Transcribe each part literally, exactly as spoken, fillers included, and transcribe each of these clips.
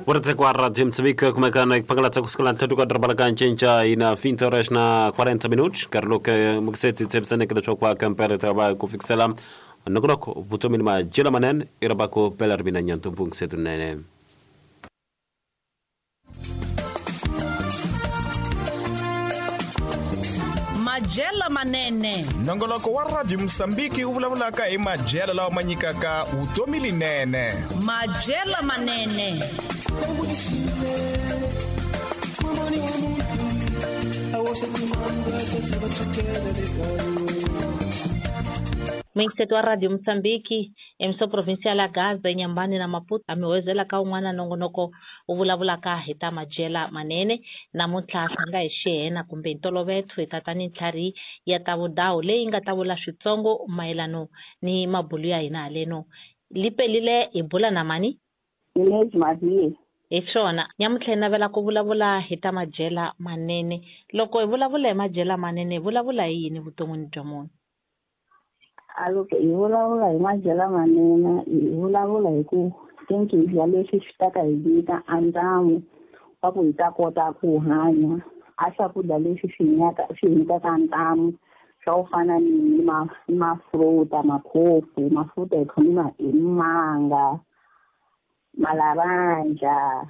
Uretsekwa Radio Moçambique kumekana ipangala kusukela ntlhatu ka doroba la ka Ncinca ina vinte horas na quarenta minutos nkarhi lowu mukiseti tshembisaneke leswaku va kampere ta va ku fikisela nongonoko vutomi ni madyelo manene i raba ku pela ri mina nyantumbu nkisetu nene. Madyelo manene. Nongonoko wa Radio Moçambique wu vulavulaka hi madyelo lawa ma nyikaka vutomi linene. Madyelo manene. Mixeto wa Radio Moçambique emso provincial ya Gaza Nyambani na Maputo amewezela ka un'wana nongonoko u vulavulaka hi ta madyela manene namuntlha swi nga hi xihena kumbe ntolovelo hi tatani ntlhari ya ta vudawu leyi nga ta vula switsongo mayelano ni mabulu ya hina haleno lipelile hi bula na mani hi swona nyamuntlha hi navela ku vulavula hi ta madyela manene. Loko hi vulavula hi madyela manene hi vulavula hi yini vuton'wini bya munhu? Loko hi vulavula hi madyela manene hi vulavula hi ku thinki hi dya leswi swi ta ka hi nyika a ntamu wa ku hi ta kota ku hanya a swakudya leswi swi nyaka swi nyikaka ntamu swa ku fana ni ma mafruta makhofu mafruta hi khoma hi manga malaranja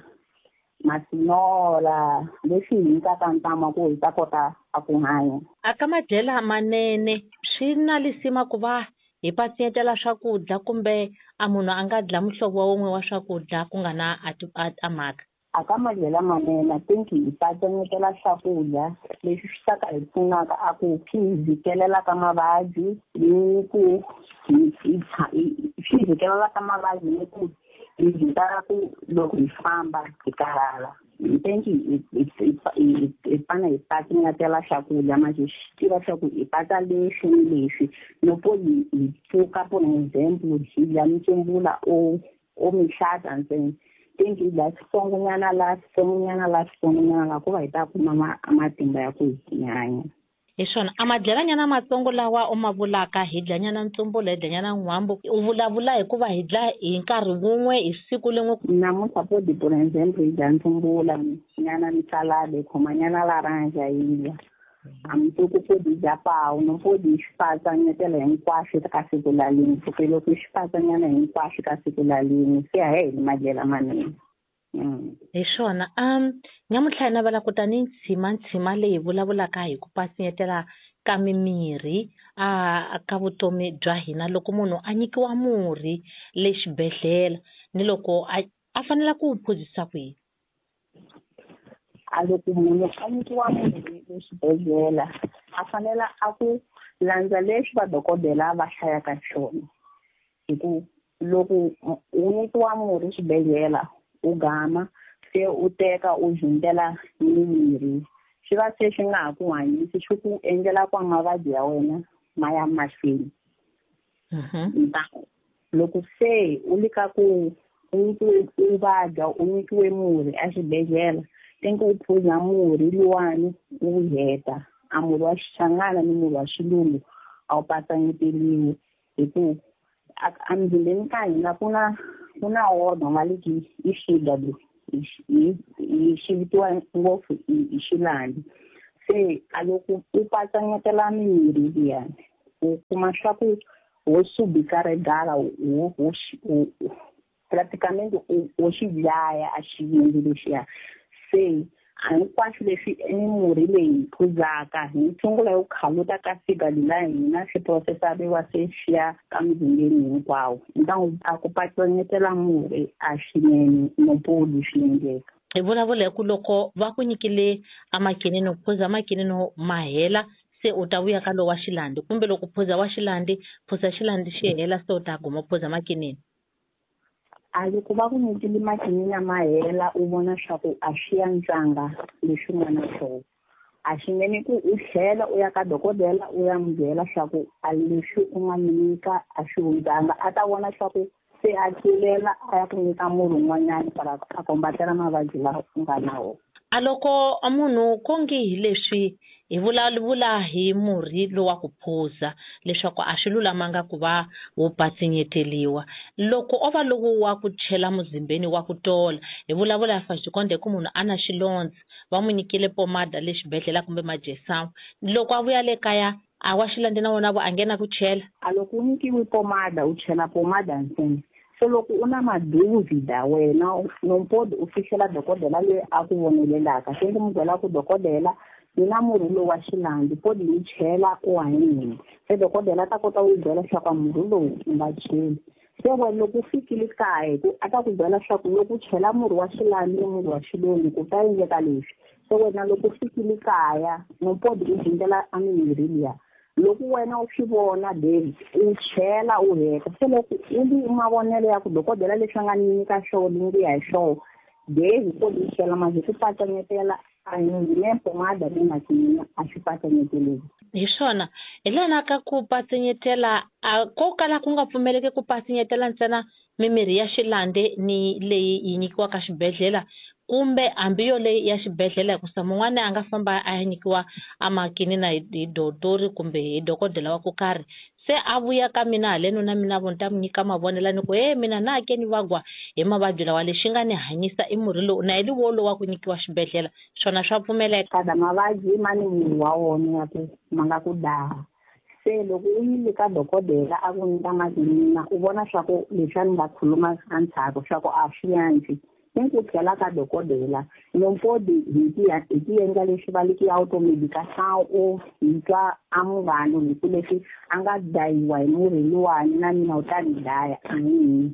masinola leswi hi nyikaka ntamu wa ku hi ta kota a ku hanya. A ka madyela manene swi na lisima ku va hi patsiyetela swakudya kumbe a munhu a nga dla muhlovo wun'we wa swakudya ku nga na a mhaka? A ka madyela manene I think hi patsanyetela swakudya leswi swi ta ka hi pfunaka a ku swi hi vhikelela ka mavabyi ni ku swi vhikelela ka mavabyi ni ku hi vhikela ku loko hi famba hi karhala. I think hi fane hi patsanyetela swakudya manje swi tiva swa ku hi patsa leswi ni leswi loko hi hi pfuka for example hi dya mitsumbula o o mihlata ntsena think hi dya switsongonyana la switsongonyana la switsongonyana la ku va hi ta kuma matimba ya ku hi hanya. Hi swona a madyelanyana matsongo lawa u ma vulaka hi dlanyana ntsumbula hi dlanyana n'hwambu u vulavula hikuva hi dla hi nkarhi wun'we hi siku lin'we. Namuntlha podi for example hi dya ntsumbula nyana ni salad hi khoma nyana laranja hi dya a mundzuku podi hi dya pawu no podi hi swi patsanyetela hinkwaswo ka siku la lin'we pfuke loko hi swi patsanyana hinkwaswo ka siku la lin'we se a hi madyela manene. Hi swona um nyamuntlha hi navela ku ta ni ntshima ntshima leyi vulavulaka hi ku pasiyetela ka mimirhi a ka vutomi bya hina loko munhu a nyikiwa murhi le xibedhlele ni loko a a fanela ku wu phuzisa ku yini? A loko munhu a nyikiwa murhi le xibedhlele a fanela a ku landza leswi vadokodela va hlayaka swona hi ku loko u nyikiwa murhi xibedhlele u gama se u teka u hundzela mimirhi swi va se swi nga ha ku hanyisi swi ku endlela kwa mavabyi ya wena ma ya mahlweni. Loko se u le ka ku u nyikiwe u vabya u nyikiwe murhi exibedhlele think u phuza murhi luwani u heta a murhi wa xichangana ni murhi wa xilungu a wu patsanyeteliwi hi ku emzimbeni ka hina ku na ku na wona nga le ki i sugar hi xi vitiwa ngopfu hi xilandi se a loko u patsanyetela mimirhi liyani u kuma swa ku wo subika regala wo wo praticamente wo xi dlaya a xivindzi lexiya se hinkwaswo leswi mimurhi leyi phuzaka hi tshungula yo khaluta ka fika la hina swi processariwa se swi ya ka mzimbeni hinkwawo ntangu a ku patsanyetela murhi a swinene no podi swi endleka. Hi vulavula hi ku loko va ku nyikile amakinini phuza amakinini ma hela se u ta vuya ka lowa xilandi kumbe loko phuza wa xilandi phuza xilandi xi hela se u ta guma phuza makinini. A loko va ku nyikile makinini ma hela u vona swa ku a swi antswanga leswi nga na swona a swi nene ku u tlhela u ya ka dokodela u ya n'wi byela swa ku a leswi u nga nyika a swi hundzanga a ta vona swa ku se a tlulela a ya ku nyika murhi un'wanyana para a kombatela mavabyi lawa u nga na wona. A loko munhu konge hi leswi Hi vulavula hi murhi lowa ku phuza leswaku a swi lulamanga ku va wu patsinyeteliwa. Loko o va lowu wa ku chela muzimbeni wa ku tola, hi vulavula fa xikonde ku munhu a na xilondza, va n'wi nyikile pomada le xibedhlele kumbe majesamu. Loko a vuya le kaya a wa xilondza na wona vo a nghena ku chela. A loko u nyikiwe pomada u chela pomada ntsena. Se loko u na maduvida wena nompodi u fihlela dokodela loyi a ku vonelelaka. Se ndzi n'wi byela ku dokodela ni na murhi lowu wa xilandzi podi ni chela u hanyile. Se dokodela ta kota ku byela leswaku murhi lowu u nga cheli. Se wena loko u fikile kaya ku a ta ku byela leswaku loko u chela murhi wa xilandzi ni murhi wa xilungu ku ta endleka leswi. Se wena loko u fikile kaya nompodi u dyindzela a mimirhi liya. Loko wena u swi vona David u chela u heta. Se loko u li mavonelo ya ku dokodela leswi a nga ni nyika swona ni ku ya hi swona David podi u chela manje ku patsanyetela a ni pomada ni makinina a swi patsanyeteleki. Hi swona hi lana ka ku patsinyetela a ko kala ku nga pfumeleki ku patsinyetela ntsena mimirhi ya xilande ni leyi yi nyikiwaka xibedhlele kumbe hambi yo leyi ya xibedhlele, hikusa mun'wana a nga famba a ya nyikiwa a makinina hi dotori kumbe hi dokodela wa ku karhi. Se a vuya ka mina haleno na mina vo ni ta mi nyika mavonelo ni ku he mina na ke ni vagwa hi mavabyi lawa lexi nga ni hanyisa i murhi lowu na hi liwolo wa ku nyikiwa xibedhlele, swona swa pfumeleka. Kada mavabyi ma ni murhi wa wona ya ku ma nga ku daha. Se loko u yile ka dokodela a ku nyika makinina u vona swa ku leswi a ni nga khuluma endzhaku swa ku a swi antswi. Ni ku tlhela ka dokodela nompodi hi ti hi ti endla leswi va liki automedication u hi twa a munghana hi ku leswi a nga dayiwa hi murhi luwani na mina u ta ni daya.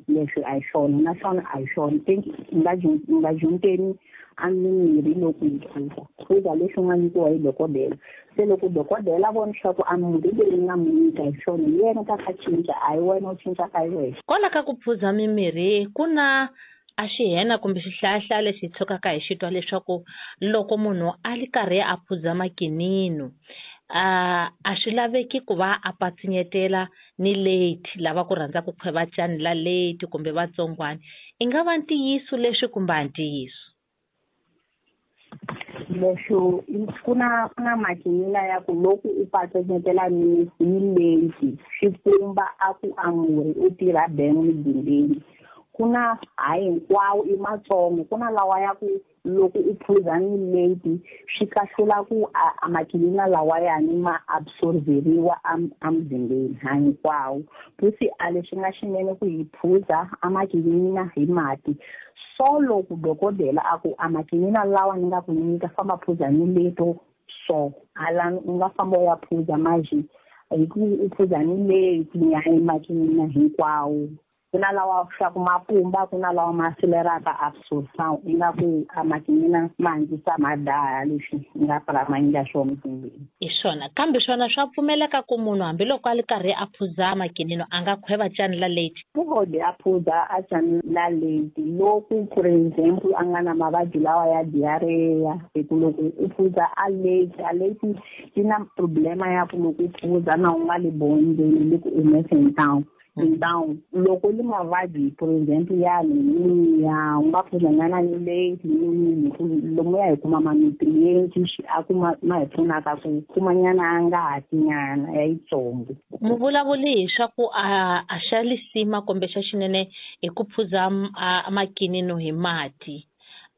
Leswi a hi swona naswona a hi swona. Think u nga u nga junteni a mimirhi loko yi phuza phuza leswi u nga nyikiwa hi dokodela. Se loko dokodela vona leswaku a murhi leyi nga n'wi nyika hi swona hi yena ta ka cinca, a hi wena u cincaka hi wexe. Kwala ka ku phuza mimirhi ku na a xihena kumbe xihlayahlaya lexi hi tshukaka hi xi twa leswaku loko munhu a li karhi a phuza makinino a a swi laveki ku va a patsinyetela ni late lava ku rhandza ku khweva cani la late kumbe vatsongwana. I nga va ntiyiso leswi kumbe a ntiyiso? Leswo ku na ku na makinina ya ku loko u patsanyetela ni ni late swi pumba a ku a murhi u tirha beng muzimbeni. Ku na hayi hinkwawo i matsongo, ku na lawa ya ku loko u phuza ni late swi kahlula ku a makinina lawayani ma absorberiwa a muzimbeni ha hinkwawo. Futhi a leswi nga xinene ku hi phuza a makinina hi mati. So loko dokodela a ku a makinina lawa ni nga ku nyika famba phuza ni leto so hala u nga famba u ya phuza maji hi ku u phuza ni late ni ya makinina hinkwawo. Ku na lawa swa ku mapumba, ku na lawa ma sileraka absorption ingaku a makinina ma antswisa ma daya leswi nga pfala ma endla swona muzimbeni. Hi swona kambe swona swa pfumeleka ku munhu hambiloko a li karhi a phuza makinino a nga khweva cani la late. Podi a phuza a cani la late loko for example a nga na mavabyi lawa ya diarrhea, hi ku loko u phuza a late a late yi na problema ya ku loko u phuza na u nga li bondzeni le ku humeseni down. Down loko li mavabyi for example ya anemia u nga phuza nyana ni late ni lomu ya hi kuma ma-nutrients a ku ma ma hi pfunaka ku kuma nyana ngati nyana ya yitsongo. Muvulavuli hi swa ku a a xa lisima kumbe xa xinene hi ku phuza a makinino hi mati.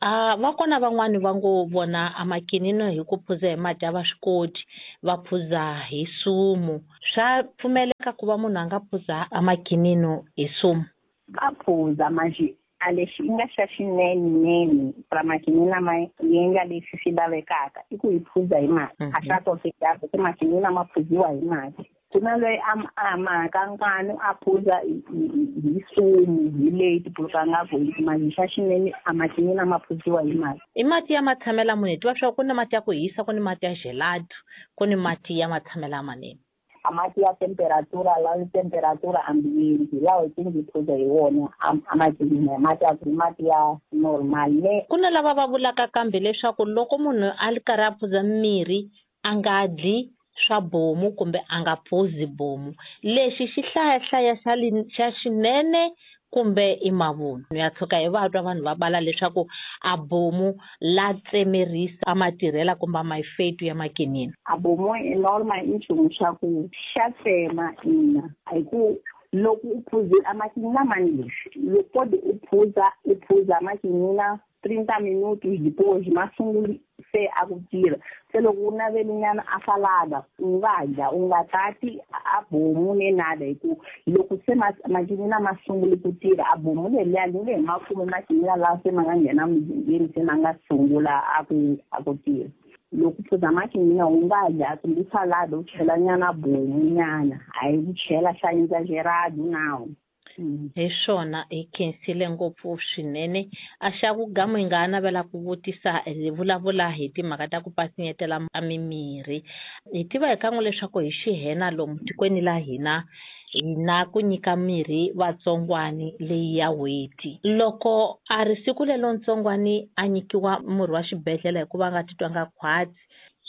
A va kona van'wani va ngo vona a makinino hi ku phuza hi mati a va swi koti, va phuza hi sumu. Swa pfumeleka ku va munhu a nga phuza a makinino hi sumu? Va phuza manje a lexi nga xa xinene pra makinina ma yenga leswi swi lavekaka i ku hi phuza hi mati. A swa koteka ku makinina ma phuziwa hi mati. Ku na loyi a a makankani a phuza hi sumu hi late puluka nga ku manje xa xinene a makinina ma phuziwa hi mati. I mati ya matshamela munhu hi tiva swa ku na mati ya ku hisa, ku ni mati ya gelato, ku ni mati ya matshamela manene. A mati ya temperatura lawa temperatura ambiente lawa hi tingi phuza hi wona a makinina mati ya mati ya normal ne. Ku na lava va vulaka kambe leswaku loko munhu a li karhi a phuza mirhi a nga dyi swa bomu kumbe a nga phuzi bomu. Lexi xi hlayahlaya xa xa xinene kumbe i mavunwa. Ya tshuka hi va twa vanhu va bala leswaku a bomu la tsemerisa a matirhela kumbe a mayifetu ya makinini. A bomu i normal i nchumu xa ku xa tsema ina hi ku loko u phuzile a makinina mani leswi loko u phuza u phuza makinina trinta minutos depois ma sungula se a ku tirha. Se loko u navelinyana a salada u nga dya u nga tati a bomu ne nada hi ku loko se makinina ma sungule ku tirha a bomu leliya ni nge hi ma kumi makinina lawa se ma nga nghena muzimbeni se ma nga sungula a ku a ku tirha. Loko phuza makinina u nga dya kumbe salada u chela nyana bomu nyana a yi ku chela xa exagerado nawu. Hi swona hi khensile ngopfu swinene. A xa ku gamu hi nga navela ku vutisa hi vulavula hi timhaka ta ku pasinyetela a mimirhi. Hi tiva hi kan'we leswaku hi xihena lomu tikweni la hina hi na ku nyika mirhi vatsongwani leyi ya n'hweti. Loko a ri siku lelo ntsongwani a nyikiwa murhi wa xibedhlele hikuva a nga titwanga khwatsi,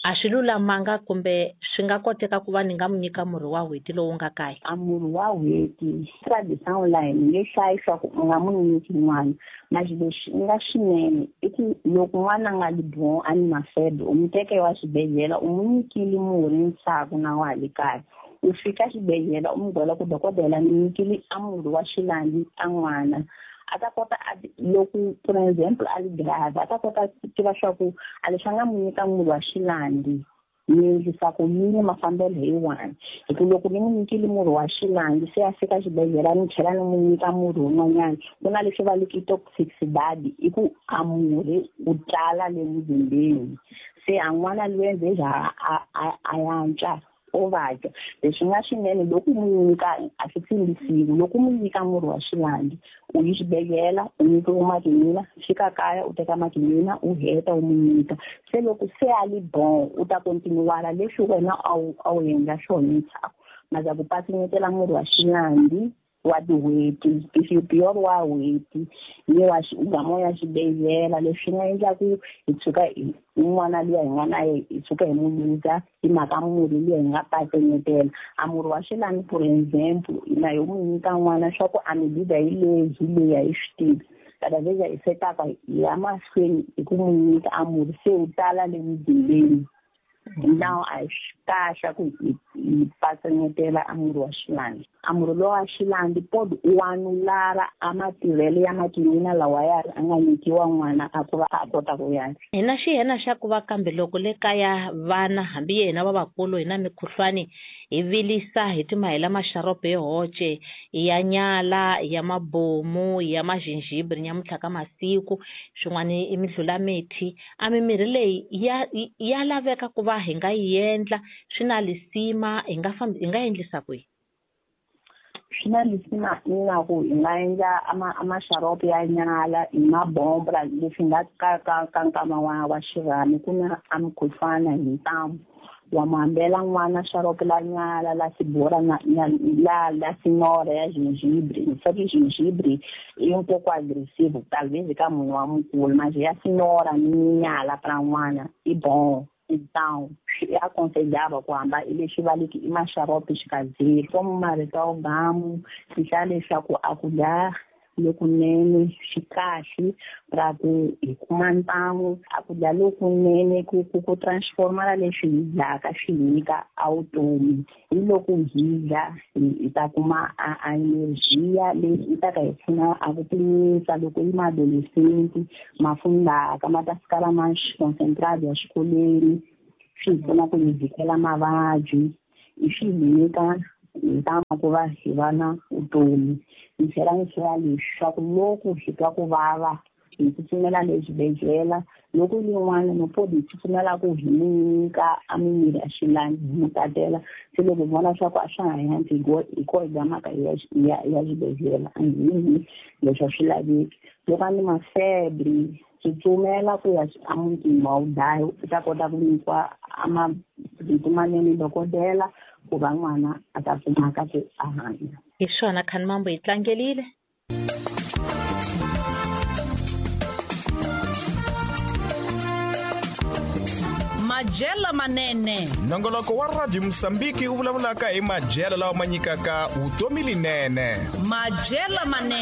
a swi lulamanga kumbe swi nga koteka ku va ni nga mu nyika murhi wa n'hweti lowu nga kaya? A murhi wa n'hweti tradition line nge hlayi swa ku u nga mu nyiki n'wana, mara lexi nga xinene i ku loko n'wana a nga li bon a ni na febre u mu teka wa xibedhlele u mu nyikile murhi ntshaku na wa le kaya. U fika xibedhlele u mu byela ku dokodela ni nyikile a murhi wa xilandzi a n'wana. A ta kota loko for example a li grave a ta kota ku tiva swa ku a leswi a nga mu nyika murhi wa xilandzi ni endlisa ku yini mafambelo hi wani. Hi ku loko ni mu nyikile murhi wa xilandzi se a fika xibedhlele ni tlhela ni mu nyika murhi wun'wanyana ku na leswi va liki toxicity i ku a murhi wu tala le muzimbeni se a n'wana loyi endze a a a yantswa o vabya. Leswi nga swinene loko mu nyika a swi tsimbisiwi loko mu nyika murhi wa xilandzi u yi xibedhlele u nyikiwa makinina fika kaya u teka makinina u heta u mu nyika. Se loko se a li bon u ta kontinuwala leswi wena a wu a wu endla swona ntshaku. Maza ku pasinyetela murhi wa xilandzi wa tin'hweti if wa n'hweti ni wa gamo ya xibedhlele leswi nga endla ku hi tshuka n'wana luya hi nga na hi tshuka hi mu luza hi mhaka murhi luya hi nga pasinyetela. A murhi wa xilandzi for example na yo mu nyika n'wana swa ku a mi luza hi leyi hi leyi a hi swi tivi kada veza hi setaka hi ya mahlweni hi ku mu nyika a murhi se wu tala le muzimbeni. Now a swi kahle ku hi pasinyetela a murhi wa xilandzi. A murhi lowa wa xilandzi pod u anulara a matirhelo ya makinina lawa ya a nga nyikiwa n'wana a ku va a kota ku ya. Hi na xihena xa ku va kambe loko le kaya vana hambi yena va vakulu hi na mikhuhlwani hi vilisa hi timahela maxarope yo hoce ya nyala ya mabomu ya mazinjibri nyamuntlha ka masiku swin'wana i midlulamithi. A mimirhi leyi ya ya laveka ku va hi nga yi endla swi na lisima hi nga fambi hi nga endlisa kwihi? Swi na lisima ingaku hi nga endla a maxarope ya nyala hi mabombra leswi nga ka ka ka nkama wa wa xirhami ku na a mukhuhlwana hi ntambu. Wa mu hambela n'wana xarope la nyala la sibora na la la sinora ya gingibre. Swa ku gingibre i un pouco agressivo talvez ka munhu wa mukulu mas ya sinora ni nyala pra n'wana i bon. Então swi aconselhava ku hamba i leswi va liki i maxarope xikazeli como marito ya gamu swi hlaya leswaku a ku dya lokunene swi kahle ra ku hi kuma ntamu a ku dya lokunene ku ku ku transformela leswi hi dyaka swi hi nyika a vutomi. Hi loko hi dya hi ta kuma a a energia leyi yi ta ka hi pfuna a ku tiyisa loko yi ma-adolescent ma fundaka ma ta fika lama concentrado ya xikolweni swi hi pfuna ku hi vhikela mavabyi i swi hi nyika ntamu ku va hi va na vutomi. Ni tlhela ni tlhela leswaku loko hi twa ku vava hi tsutsumela le xibedhlele loko yin'wana no podi hi tsutsumela ku hi nyika a mimirhi ya xilandzi hi mu tatela se loko hi vona swa ku a swa ha yantswi hi ko hi gamaka hi ya ya xibedhlele a hi leswi a swi laveki. Loko a ni mafebre tsutsumela ku ya emutini wa wudlayi u ta kota ku nyikiwa a marito manene dokodela ku va n'wana a ta kumaka ku a hanya. Hi swona Khanimambo hi tlangelile. Majela manene. Nongoloko wa Radio Mosambiki wu vulavulaka hi majela lawa ma nyikaka vutomi linene. Majela manene.